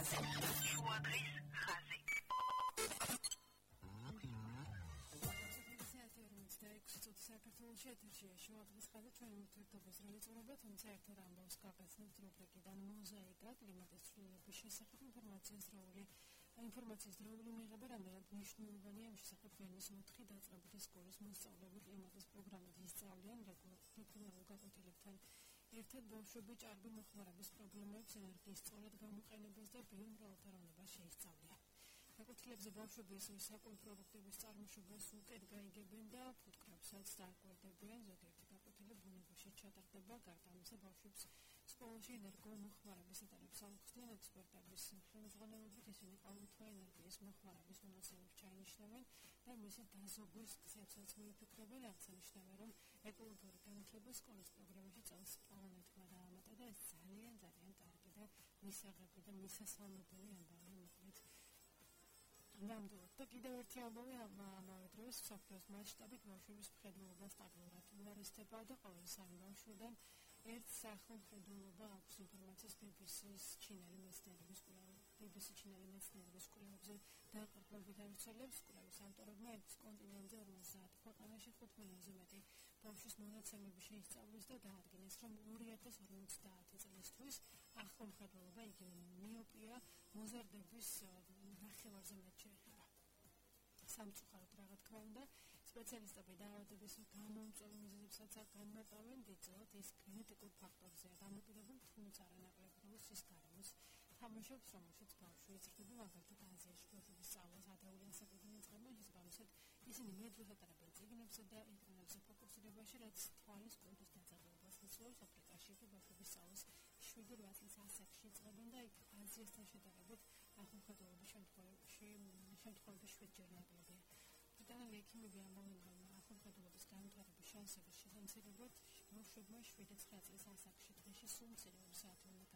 შუადღის ხაზი. საქართველოში ეთერშია შუადღის ხაზი ჩვენი ურთიერთობის რეწურება, თუმცა ერთად ამბავს გაგაცნობთ რუბრიკიდან მოზაიკა კლიმატის ცვლილების შესახებ ინფორმაციის დროული მიღება რამდენად მნიშვნელოვანია ამ შესახებ ვენის 4 დაწყებითი სკოლის მოსწავლეები კლიმატის პროგრამით ისწავლიან რეგულარულ გაკვეთილებთან ერთად ბავშვები ჭარბი მოხმარების პრობლემებს, ენერგიის სწორად გამოყენებას და ბიომრავალფეროვნებას შეისწავლიან. გაკვეთილებზე ბავშვები ისევ საკუთარ პროდუქტების წარმოშობას უკეთ გაიგებენ და ფუტკრებსაც დააკვირდებიან. ზოგიერთი გაკვეთილი ბუნებაში ჩატარდება. გარდა ამისა, ბავშვებს სკოლაში ენერგომოხმარების ეტაპებს აუხსნიან ექსპერტების ხელმძღვანელობით. ისინი ყოველთვე ენერგიის მოხმარების მონაცემებს ჩაინიშნებენ და მისი დაზოგვის გზებსაც მოიფიქრებენ. აღსანიშნავია, რომ ეკოლოგიური განათლება სკოლის პროგრამაში წელს პლანეტმა დაამატა და ეს ძალიან კარგი და მისაღები და მისასალმებელი ამბავი მოხდით. ნამდვილად და კიდევ ერთი ამბავი ამავე დროს მსოფლიოს მასშტაბით ბავშვების მხედველობა სტაბილურად უარესდება და ყოველი 3 ბავშვიდან ერთ სახელმხედველობა აქვს ინფორმაციის BBC ჩინელი მეცნიერების კვლევებზე დაყრდნობით ავრცელებს. კვლევის ავტორებმა ერთ კონტინენტზე 50 ქვეყანაში 5 მილიონზე მეტი ბავშვის მონაცემები შეისწავლეს და დაადგინეს, რომ 2050 წლისთვის ახალმხედველობა იგივე მიოპია მოზარდების ნახევარზე მეტ შეეხება. სამწუხაროდ რა თქმა უნდა, სპეციალისტები დაავადების გამომწვევ მიზეზებსაც განმარტავენ. დიდწილად ის გენეტიკურ ფაქტორზეა დამოკიდებული, თუმცა არანაკლებ როლს ის გარემოს თამაშობს, რომელშიც ბავშვი იზრდება. მაგალითად, აზიაში ბავშვების სწავლას ადრეული ასაკიდან იწყებენ, შესაბამისად ისინი მეტ დროს ატარებენ წიგნებზე და ინტერნეტზე ფოკუსირებაში, რაც თვალის კუნთის დაძაბულობას იწვევს. აფრიკაში კი ბავშვების სწავლას 7-8 წლის ასაკში იწყებენ და იქ აზიასთან შედარებით ახალმხედველობის შემთხვევებში 7-ჯერ ნაკლებია. ბრიტანელი ექიმები ამბობენ, რომ ახალმხედველობის განვითარების შანსების შესამცირებლად ბავშვებმა 7-9 წლის ასაკში დღეში სულ მცირე 2 საათი უნდა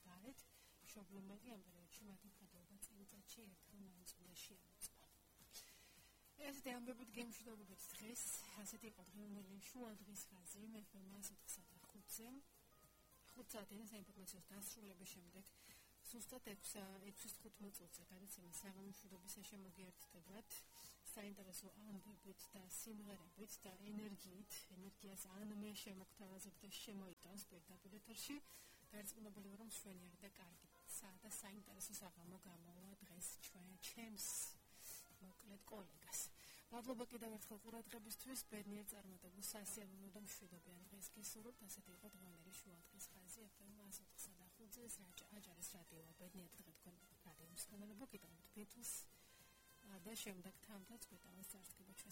გარეთ. მშობლებმა კი ამ პერიოდში მათი მხედველობა წელიწადში ერთხელ მაინც უნდა შეამოწმონ. ესეთი ამბებით გემშვიდობებით დღეს. ასეთი იყო დღევანდელი შუადღის ხაზი. მე ვფერმა 7:05-ზე. 5 საათის საინფორმაციო დასრულების შემდეგ ზუსტად 6:15 წუთზე გადაცემა საღამოშვიდობის შემოგიერთდებათ საინტერესო ამბებით და სიმღერებით და ენერგიას ან მე შემოგთავაზებ და შემოიტანს პირდაპირ ეთერში. დარწმუნებული ვარ, რომ მშვენიერი და კარგი და საინტერესო საღამო გამოვა დღეს ჩემს მოკლედ კოლეგას. მადლობა კიდევ ერთხელ ყურადღებისთვის. ბედნიერ წარმატებულ სასიამოვნო და მშვიდობიან დღეს გესურვებთ. ასეთი იყო დღევანდელი შუადღის ხაზი FM 104.5-ზე აჭარის რადიოა. ბედნიერ დღე თქვენ რადიოს განალობა კიდევ ბეთლს და შემდეგ თამთაც გვეტავის წარსდგება ჩვენს